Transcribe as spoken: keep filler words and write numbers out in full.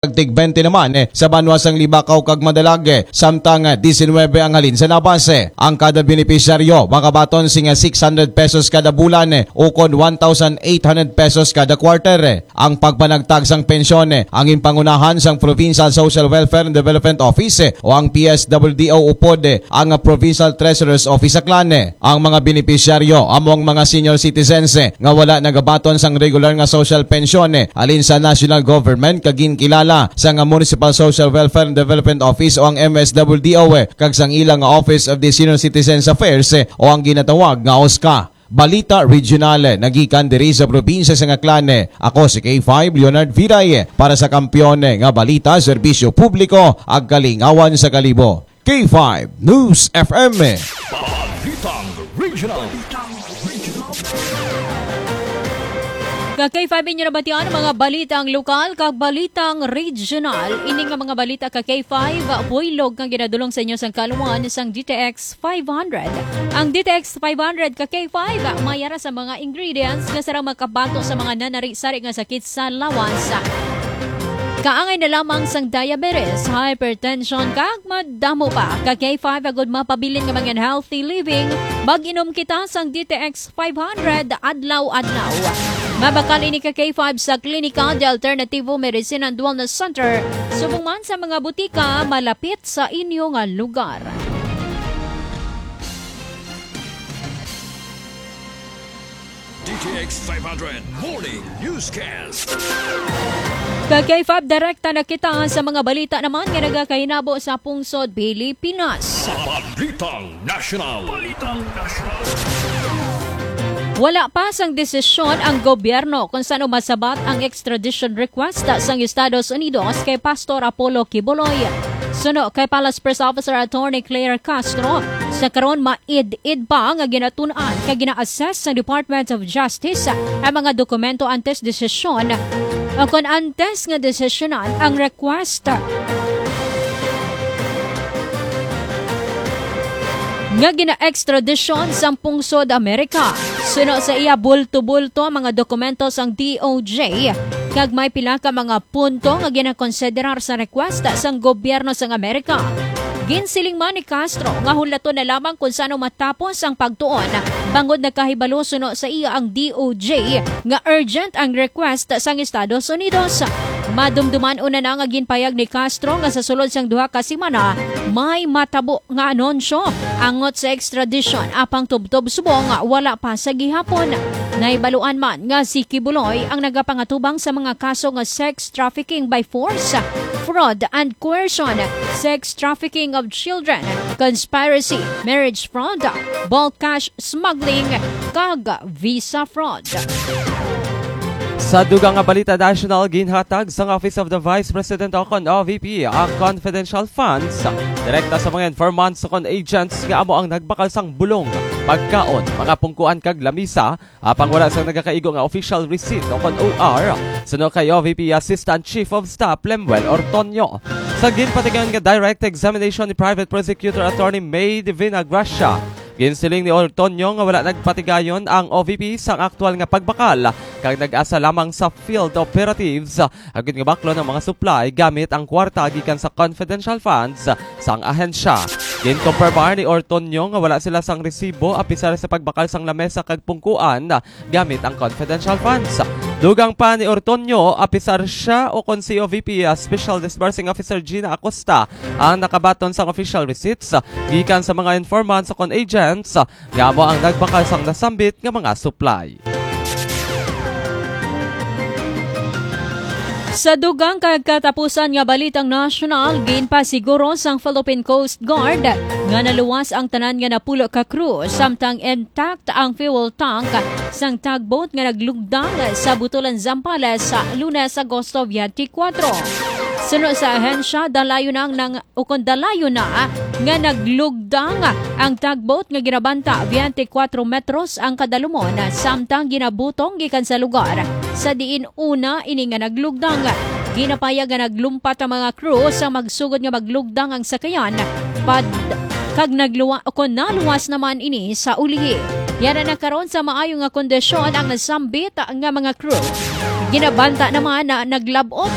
kag tig twenty naman, eh, sa banwa sang Libacao kag Madalag, eh, samtang, eh, diecinuebe ang halin sa Nabas, eh. Ang kada benepisyaryo makabaton sing, eh, six hundred pesos kada bulan, eh, ukon one thousand eight hundred pesos kada quarter, eh. Ang pagpanagtag sang pensyon, eh, ang ginpangunahan sang Provincial Social Welfare and Development Office, eh, o ang P S W D O, upod, eh, ang, ah, Provincial Treasurer's Office sa Aklan, eh. Ang mga benepisyaryo amo ang mga senior citizens, eh, nga wala nagabaton sang regular nga social pension, eh, halin sa national government kag ginkilala sang Municipal Social Welfare and Development Office o ang M S W D O, eh, kag sang ila nga Office of the Senior Citizens Affairs, eh, o ang ginatawag nga OSCA. Balita Regional, eh, nagikan diri sa probinsya sang Aklan, eh. Ako si K five Leonard Viray, eh, para sa Kampiyon, eh, nga Balita, Serbisyo Publiko, ag Kalingawan sa Kalibo. K five News F M. Balitang Regional. Ka K five, inyo nabatian ang mga balitang lokal kag balitang regional. Ini nga mga balita ka K five, buylog nga ginadulong sa inyo sang kaluan sang D T X five hundred. Ang D T X five hundred ka K five, mayara sa mga ingredients nga sarang makabato sa mga nanari-sari nga sakit sa lawas. Kaangay na lamang sang diabetes, hypertension, kag madamo pa. Ka K five, agud mapabilin nga mga healthy living, mag-inom kita sang D T X five hundred adlaw-adlaw. Mabakal ini ka K five sa Klinika de Alternativo Medicine and Wellness Center, subong man sa mga butika malapit sa inyo nga lugar. D T X five hundred Morning Newscast. Ka K five, direkta na kita sa mga balita naman nga nagakahinabo sa pungsod Pilipinas. Balitang National. Balitang National. Wala pa sang desisyon ang gobyerno kung sano masabat ang extradition request sang Estados Unidos kay Pastor Apollo Quiboloy. Suno kay Palace Press Officer Attorney Claire Castro, sa karon ma-, id-id pa nga ginatun-an kag gina-assess sang Department of Justice ang mga dokumento antes desisyon o kon antes nga desisyonan ang request nga gina-extradition sang pungsod Amerika. Suno sa iya, bulto-bulto ang mga dokumento sang D O J, kag may pila ka mga punto nga ginakonsiderar sa request sang gobyerno sang Amerika. Ginsiling man ni Castro nga hulaton na lamang kung sano matapos ang pagtuon, bangod nagkahibalo suno sa iya ang D O J nga urgent ang request sang Estados Unidos. Madumduman una na nga ginpayag ni Castro nga sa sulod sang duha ka semana may matabo nga anunsyo angot sa extradition, apang tubtob subong wala pa sa gihapon. Nahibaluan man nga si Quiboloy ang nagapangatubang sa mga kaso nga sex trafficking by force, fraud and coercion, sex trafficking of children, conspiracy, marriage fraud, bulk cash smuggling, kag visa fraud. Sa dugang nga balita national, ginhatag sang Office of the Vice President o kon O V P ang confidential funds direkta sa mga informants o kon agents nga amo ang nagbakal sang bulong, pagkaon, mga pungkuan kag lamisa, apang wala sang nagakaigo nga official receipt o kon O R, suno kay O V P Assistant Chief of Staff Lemuel Ortonio. Sa ginpatigayon nga direct examination ni Private Prosecutor Attorney May Divina Gracia, ginsiling ni Ortonio nga wala nagpatigayon ang O V P sang aktual nga pagbakal, kag nag-asa lamang sa field operatives, agud nga baklon ang mga supply gamit ang kwarta gikan sa confidential funds sang ahensya. Ginkumpirmar ni Ortonio nga wala sila sang resibo apisar sa pagbakal sang lamesa kag pungkuan gamit ang confidential funds. Dugang pa ni Ortonio, apisar siya o kon si O V P, ah, Special Disbursing Officer Gina Acosta ang nakabaton sang official receipts gikan sa mga informants o kon agents nga amo ang nagbakal sang nasambit nga mga supply. Sa dugang kag katapusan nga balitang nasyonal, ginpasiguro sang Philippine Coast Guard nga naluwas ang tanan nga napulo ka crew, samtang intact ang fuel tank sang tugboat nga naglugdang sa Butulan, Zambales, sa Lunes, Agosto twenty-four. Suno sa ahensya, dalayon ang nang ukon dalayon na nga naglugdang ang tugboat nga ginabanta twenty-four metros ang kadalumon, samtang ginabutong gikan sa lugar sa diin una ini nga naglugdang. Ginapayag nga naglumpat ang mga crew sa magsugod nga maglugdang ang sakayan pad-, kag nagluwa-, kon naluwas naman ini sa ulihi. Yara na karon sa maayo nga kondisyon ang nasambit nga mga crew. Ginabanta naman na naglab-ot